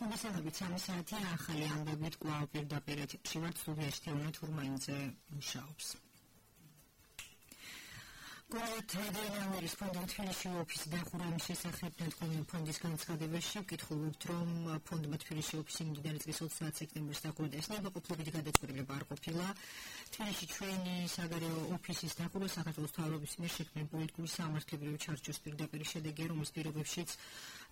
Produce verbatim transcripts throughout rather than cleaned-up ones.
მოგესალმებით სამი საათი ახალი ამბებით კვლავ პირდაპირ ეთერში ვართ სტუდიაში თეონა თურმაინძე მუშაობს. გენერალური ფონდ თბილისში ოფისი დახურვის შესახებ დადგმული ფონდის განცხადებაში ვკითხულობთ, რომ ფონდმა თბილისში ოფისი მიმდინარე წლის ოცდაათი სექტემბრის დახურვის ნებაყოფლობით გადაწყვეტილება არ ყოფილა. თბილისში ჩვენი საგარეო ოფისის დახურვა საქართველოს მთავრობის მიერ შექმნილ პოლიტიკური სამართლებრივი ჩარჩოს პირდაპირ შედეგია, რომლის პირობებშიც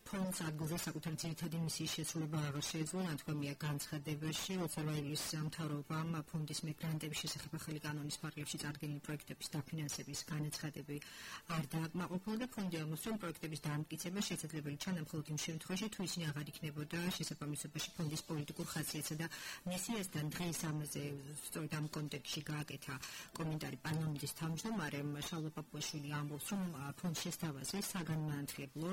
ფონდს ადგილზე საკუთარი ძირითადი მისიის შესრულება აღარ შეეძლო. ნათქვამია განცხადებაში, როცა რაილის მთავრობამ ფონდის მიგრანტების შესახებ ახალი კანონის ფარგლებში წარდგენილი პროექტების დაფინანსების განაცხადები არ დააკმაყოფილა და ფონდი ამბობს, რომ პროექტების დამტკიცება შესაძლებელი ჩანდა მხოლოდ იმ შემთხვევაში, თუ ისინი აღარ იქნებოდა შესაბამისობაში ფონდის პოლიტიკურ ხასიათსა და მისიასთან. დღეს ამაზე სწორედ ამ კონტექსტში გააკეთა კომენტარი პარლამენტის თავმჯდომარემ შალვა პაპუაშვილი ამბობს, რომ ფონდს შესთავაზე საგანმანათლებლო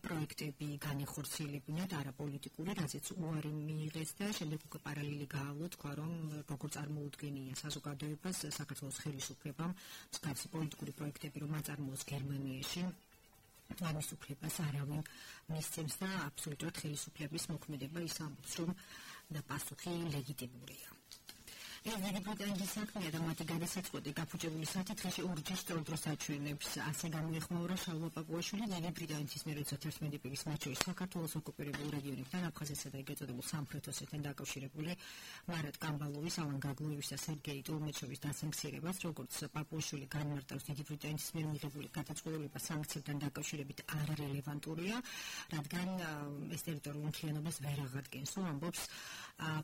პროექტები განეხორციელებინათ არაპოლიტიკური, რაზეც უარი მიიღეს და შემდეგ უკვე პარალელი გაავლო, თქვა, რომ როგორ წარმოუდგენია საზოგადოებას საქართველოს ხელისუფლებამ მსგავსი პოლიტიკური პროექტები, რომ აწარმოოს გერმანიაში, ამის უფლებას არავინ მისცემს და აბსოლუტურად ხელისუფლების მოქმედება ის ამბობს, რომ პასუხი ლეგიტიმურია. ეს ბრიტანეთის საქმეა და მათი გადასაწყვეტი გაფუჭებული საფრთხეში ორჯერ სწორდროს აჩვენებს. ასე გამოიხმაურა შალვა პაპუაშვილი დიდი ბრიტანეთის მიერ ოცდაათი პირის მათ შორის საქართველოს ოკუპირებულ რეგიონებთან, აფხაზეთსა და ეგ ეწოდებულ სამხრეთ ოსეთთან დაკავშირებული მარატ კამბალოვის, ალან გაგლოევის და სერგეი ტოლმეჩოვის დასამცირებას, როგორც პაპუაშვილი განმარტავს, დიდი ბრიტანეთის მიერ მიღებული გადაწყვეტილება სანქციებთან დაკავშირებით არ რელევანტურია, რადგან ეს ტერიტორიული მთლიანობას ვერ აღადგენს. ამბობს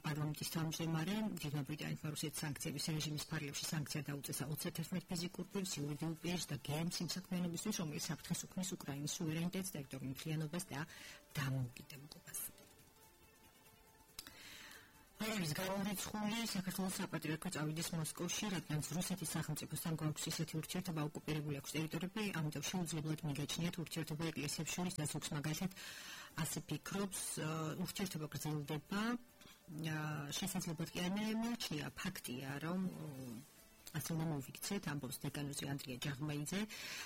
პარლამენტის თავმჯდომარე, დიდი ბრიტანეთის რუსეთის სანქციების რეჟიმის ფარგლებში სანქცია დაუწესა ოცდაათი ფიზიკურ პირს, იურიდიულ პირს და გემს იმ საქმიანობისთვის, რომელიც საფრთხეს უქმნის უკრაინის სუვერენიტეტს, ტერიტორიულ მთლიანობას და დამოუკიდებლობას. არის გამორიცხული საქართველოს საპატრიარქო წავიდეს მოსკოვში, რადგან რუსეთის სახელმწიფოსთან გვაქვს ისეთი ურთიერთობა, ოკუპირებული აქვს ტერიტორიები, ამიტომ შეუძლებელად მიგაჩნიათ ურთიერთობა ეკლესიებს შორის და ზოგს მაგალითად ასე ფიქრობს, ურთიერთობა გრძელდება. შესაძლებლად კი არ მეჩნია ფაქტია, რომ ასე უნდა მოვიქცეთ, ამბობს დეკანოზი ანდრია ჯაღმაიძე.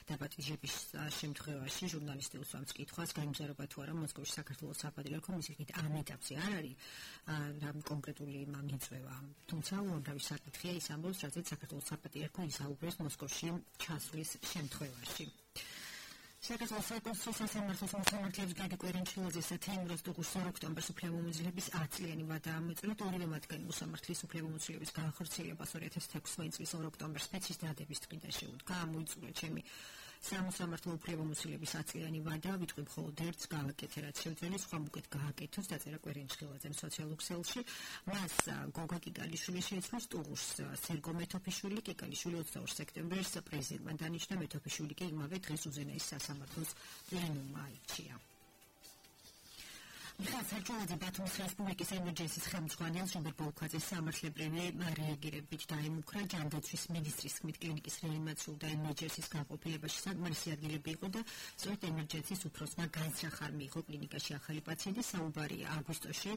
დაპატიჟების შემთხვევაში ჟურნალისტი უსვამს კითხვას, გაიმგზავრება თუ არა მოსკოვში საქართველოს საპატრიარქო, მის იქით ამ ეტაპზე არ არის რამ კონკრეტული მამიწვევა. თუმცა უამრავი საკითხია ის ამბობს, რაზეც საქართველოს საპატრიარქო ისაუბრებს მოსკოვში ჩასვლის შემთხვევაში. საქართველოს საკონსულო სასამართლოს მოსამართლეებს გიორგი კვერინჩილაძეს და თეიმურაზ დუღუშს ოქტომბერს უფლებამოსილების ათწლიანი ვადა ამოწურა. ორივე მათგანი მოსამართლის უფლებამოსილების განახორციელებას ორი ათას ექვსმეტი წლის ოქტომბერს სპეცის დადების დღიდან შეუდგა. ამოიწურა ჩემი სამოსამართლო უფლებამოსილების ათწლიანი ვადა, ვიტყვი მხოლოდ ერთს გავაკეთე, რაც შეუძლია სხვა უკეთ გააკეთოს, დაწერა კვერინჩილაძემ სოციალურ ქსელში. მას გოგა კიკალიშვილი შეეცვლო სტუღუშს სერგო მეთოფიშვილი, კიკალიშვილი ოცდაორ სექტემბერს პრეზიდენტმა დანიშნა, მეთოფიშვილი კი იმავე დღეს უზენაეს სასამართლოს პლენუმმა აირჩია. მიხაილ საჯულაძე ბათუმის რესპუბლიკის ემერჯენსის ხელმძღვანელს ჟუმბერ ბოლქვაძეს სამართლებრივი რეაგირებით დაემუქრა. ჯანდაცვის მინისტრის თქმით, კლინიკის რეანიმაციულ და ემერჯენსის განყოფილებაში საკმარისი ადგილები იყო და სწორედ ემერჯენსის უფროსმა განსახარ მიიღო კლინიკაში ახალი პაციენტი. საუბარია აგვისტოში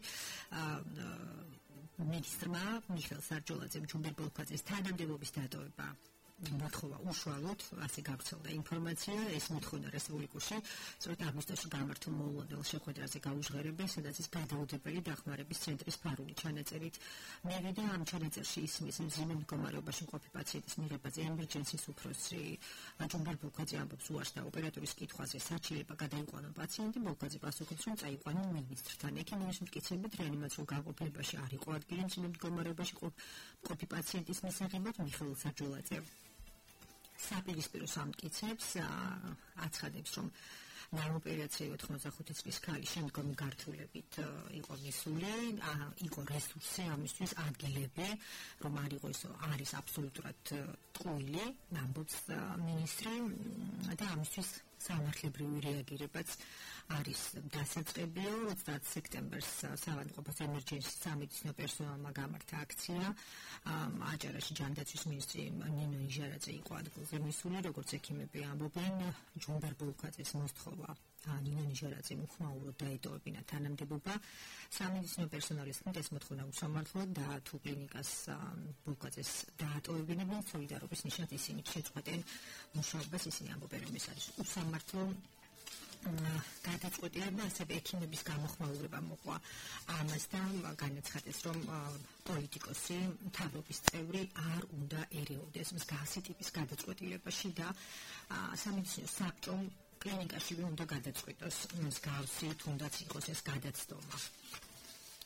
მინისტრმა მიხაილ საჯულაძემ ჟუმბერ ბოლქვაძეს თანამდებობის დატოვება მოთხოვა უშუალოდ, ასე გავრცელდა ინფორმაცია, ეს მოთხოვნა რესპუბლიკაში სწორედ აგვისტოში გამართულ მოულოდნელ შეხვედრაზე გაუჟღერებენ, სადაც ის გადაუდებელი დახმარების ცენტრის ფარული ჩანაწერით მივიდა. ამ ჩანაწერში ისმის მძიმე მდგომარეობაში მყოფი პაციენტის მიღებაზე ემერჯენსის უფროსი ჟუმბერ ბოლქვაძე ამბობს უარს და ოპერატორის კითხვაზე საჩილება გადაიყვანა პაციენტი. ბოლქვაძე პასუხობს, რომ წაიყვანა მინისტრთან. ექიმების მტკიცებით რეანიმაციულ განყოფილებაში არ იყო ადგილი მძიმე მდგომარეობაში მყოფი პაციენტის მისაღებად. მიხაილ საჯულაძე საპირისპირო სამტკიცებს აცხადებს, რომ ნაოპერაციო ოთხმოცდახუთი წლის ქალი შემდგომი გართულებით იყო მისული, იყო რესურსი ამისთვის, ადგილები, რომ არ იყო ისო არის აბსოლუტურად ტყუილი, ამბობს მინისტრი და ამისთვის სამართლებრივი რეაგირებაც არის დასაწყებია. ოცდაათი სექტემბერს საავადმყოფოს ემერჯენსის სამედიცინო პერსონალმა გამართა აქცია. აჭარაში ჯანდაცვის მინისტრი ნინო იჟარაძე იყო ადგილზე მისული, როგორც ექიმები ამბობენ, ჟუმბერ ბოლქვაძეს მოსთხოვა ნინო იჟარაძემ უხმაუროდ დაეტოვებინა თანამდებობა. სამედიცინო პერსონალის თქმით, ეს მოთხოვნა უსამართლოა და თუ კლინიკას ბოლქვაძეს დაატოვებინებენ, სოლიდარობის ნიშნად ისინი შეწყვეტენ მუშაობას. ისინი ამბობენ, რომ ეს არის უსამართლო გადაწყვეტილება ასევე ექიმების გამოხმაურება მოყვა ამასთან განაცხადეს, რომ პოლიტიკოსი, მთავრობის წევრი არ უნდა ერეოდეს მსგავსი ტიპის გადაწყვეტილებაში და სამედიცინო საბჭომ კლინიკაშივე უნდა გადაწყვეტოს მსგავსი თუნდაც იყოს ეს გადაცდომა.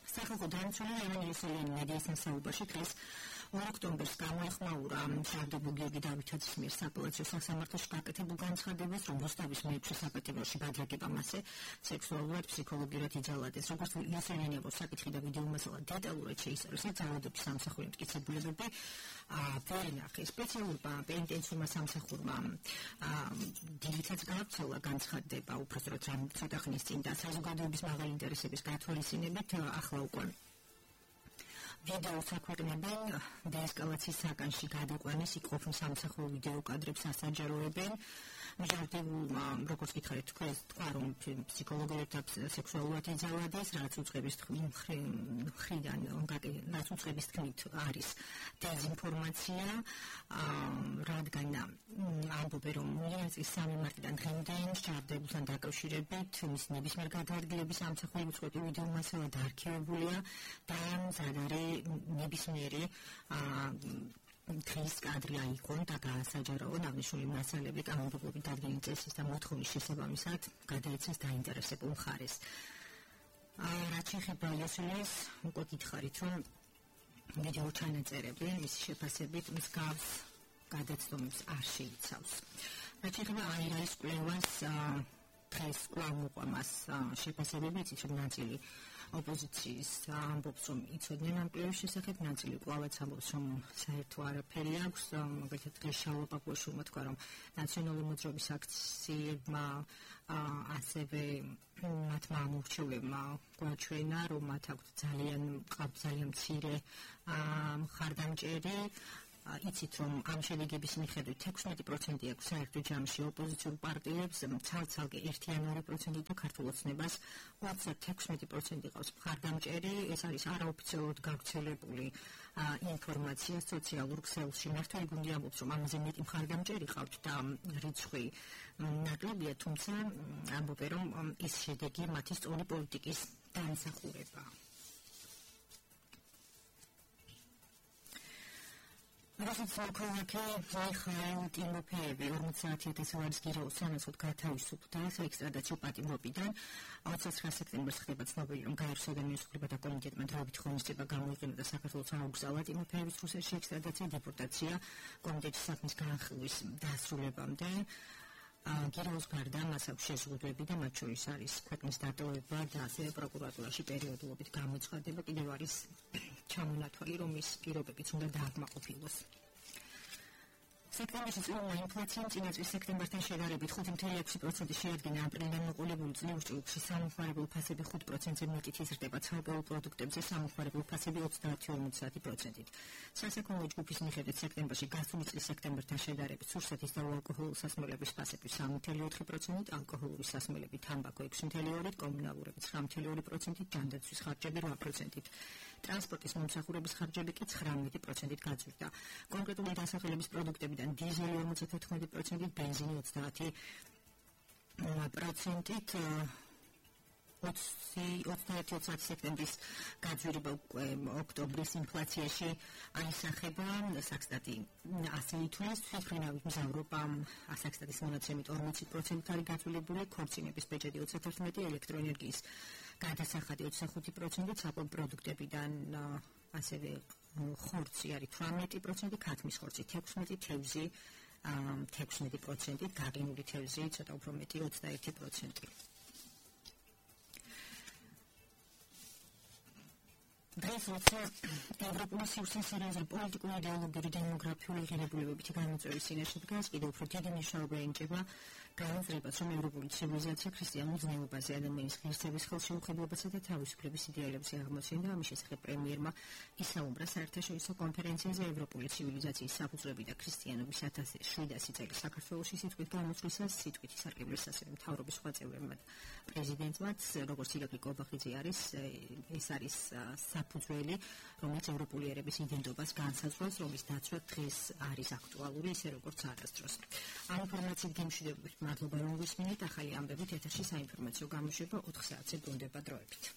სახალხო დამცველი ლევან იოსელიანი მედიის მასაუბრში დღეს ორ ოქტომბერს გამოეხმაურა მშრალდებულ გიორგი დავითაძის მიერ სააპელაციო სასამართლოში გაკეთებულ განცხადებას, რომ რუსთავის მეექვსე საპატიმროში ბადრაგება მასზე სექსუალურად, ფსიქოლოგიურად იძალადეს. როგორც იოსელიანი აქვს საკითხი და ვიდეო მასალა დეტალურად შეისწავლეს, ძალადობის სამსახური მტკიცებულებები ვერ ნახეს. სპეციალურმა პენიტენციურმა სამსახურმა დიდითაც გაავრცელა განცხადება, უпростоროდ ცოტა ხნის წინ და საზოგადოების მაღალი ინტერესების გათვალისწინებით ახლა უკვე ვიდეოს აქვეყნებენ დეესკალაციის საკანში გადაყვანის იყოფნ სამსახურ ვიდეო კადრებს ასაჯაროებენ. მჟავდებულმა, როგორც გითხარით, თქვა, რომ ფსიქოლოგიურად და სექსუალურად იძალადეს, რაც უწყების მხრიდან, რაც უწყების თქმით არის დეზინფორმაცია, რადგან ამბობენ, რომ იანის სამი მარტიდან დღემდე მჟავდებულთან დაკავშირებით მის ნებისმიერ გადაადგილების სამსახური უწყები ვიდეო მასალა დაარქივებულია და მზად არის ნებისმიერი დღის კადრი აიყონ და გაასაჯაროონ აღნიშნული მასალები კანონმდებლობით დადგენილი წესის და მოთხოვნის შესაბამისად გადაეცეს დაინტერესებულ მხარეს. რაც შეეხება იოსელიანს, უკვე გითხარით, რომ ვიდეო ჩანაწერები მისი შეფასებით მსგავს გადაცდომებს არ შეიცავს. რაც შეეხება აირაის კვლევას, დღეს კვლავ მოყვა მას შეფასებები, იცით რომ ნაწილი ოპოზიციის ამბობს, რომ იცოდნენ ამ კვლევის შესახებ, ნაწილი კვლავაც ამბობს, რომ საერთო არაფერი აქვს, მაგალითად დღეს შალვა პაპუაშვილმა თქვა, რომ ნაციონალური მოძრაობის აქციებმა ასევე მათმა ამორჩეულებმა გვაჩვენა, რომ მათ აქვთ ძალიან ყავთ ძალიან მცირე მხარდამჭერი. იცით, რომ ამ შედეგების მიხედვით ექვსმეტი პროცენტი აქვს საერთო ჯამში ოპოზიციურ პარტიებს, ცალ-ცალკე ერთი ან ორი პროცენტი და ქართულ ოცნებას უცებ ექვსმეტი პროცენტი ყავს მხარდამჭერი. ეს არის არაოფიციალურად გავრცელებული ინფორმაცია სოციალურ ქსელში. მართალი გუნდი ამბობს, რომ ამაზე მეტი მხარდამჭერი ყავთ და რიცხვი ნაკლებია, თუმცა ამბობენ, რომ ეს შედეგი მათი სწორი პოლიტიკის დამსახურებაა. რუსეთის მოქალაქე მიხაილ ტიმოფეევი ორმოცდაათი ათასი ლარის გირაოს სანაცვლოდ გათავისუფლდა საექსტრადაციო პატიმრობიდან. ოცდაცხრა სექტემბერს ხდება ცნობილი, რომ გაეროს ადამიანის უფლებათა კომიტეტმა დროებით ღონისძიება გამოიყენა და საქართველოს აუგზავნა ტიმოფეევის რუსეთში ექსტრადაცია დეპორტაცია კომიტეტის საქმის განხილვის დასრულებამდე. გირაოს გარდა მას აქვს შეზღუდვები და მათ შორის არის ქვეყნის დატოვება და ასევე პროკურატურაში პერიოდულობით გამოცხადება. კიდევ არის ჩამონათვალი, რომ ის პირობებიც უნდა დააკმაყოფილოს. სექტემბერში წლოვანი ინფლაცია წინა წლის სექტემბერთან შედარებით ხუთი ფاصლე ექვსი პროცენტი შეადგინა. აპრილიდან მოყოლებული წლების ჭრილში სამომხმარებლო ფასები ხუთ პროცენტზე მეტით იზრდება, ცალკეულ პროდუქტებზე სამომხმარებლო ფასები ოცდაათი ფاصლე ორმოცდაათი პროცენტით. სასაქონლო ჯგუფის მიხედვით სექტემბერში გასული წლის სექტემბერთან შედარებით სურსათის და უალკოჰოლური სასმელების ფასები სამი ფاصლე ოთხი პროცენტით, ალკოჰოლური სასმელები, თამბაქო ექვსი ფاصლე ორი, კომუნალურები ცხრა ფاصლე ორი პროცენტით, ჯანდაცვის ხარჯები რვა პროცენტით. ტრანსპორტის მომსახურების ხარჯები კი ცხრამეტი პროცენტით გაძვირდა. კონკრეტული დასახელების პროდუქტებიდან დიზელი ორმოცდათოთხმეტი პროცენტით, ბენზინი ოცდაათი პროცენტით. ოცდაერთი ოცდაათი სექტემბრის გაძვირება უკვე ოქტომბრის ინფლაციაში აისახება. საქსტატი ასე ითვლის, თვითმფრინავით მზავრობა საქსტატის მონაცემით ორმოცი პროცენტით არის გაძვირებული, ქორწინების ბეჭედი ოცდათერთმეტი, ელექტროენერგიის გადასახადი ოცდახუთი პროცენტი, საკვებ პროდუქტებიდან ასევე ხორცი არის თვრამეტი პროცენტი, ქათმის ხორცი თექვსმეტი, თევზი ექვსმეტი პროცენტი, გაღინული თევზი ცოტა უფრო მეტი ოცდაერთი პროცენტი. დღეს როცა ევროპული სივრცე სერიოზული პოლიტიკური, იდეოლოგიური, დემოგრაფიული ღირებულებებით გამოწვევის წინაშე დგას, კიდევ უფრო დიდი მნიშვნელობა ენიჭება განაზრებას, რომ ევროპული ცივილიზაცია ქრისტიანულ ზნეობაზე, ადამიანის ღირსების ხელშეუხებლობასა და თავისუფლების იდეალებზე აღმოცენდა. ამის შესახებ პრემიერმა ისაუბრა საერთაშორისო კონფერენციაზე ევროპული ცივილიზაციის საფუძვლები და ქრისტიანობის ათას შვიდასი წელი საქართველოში სიტყვით გამოსვლისას, სიტყვით ისარგებლეს ასევე მთავრობის სხვა წევრებმა და პრეზიდენტმაც, როგორც ირაკლი კობახიძე არის, ეს არის საფუძველი, რომელიც ევროპული ერების იდენტობას განსაზღვრავს, რომლის დაცვა დღეს არის აქტუალური, ისე როგორც არასდროს. ამ ინფორმაციით გემშვიდობებით მადლობა რომ გვისმინეთ. ახალი ამბებით ეთერში საინფორმაციო გამოშვება ოთხ საათზე ბრუნდება დროებით.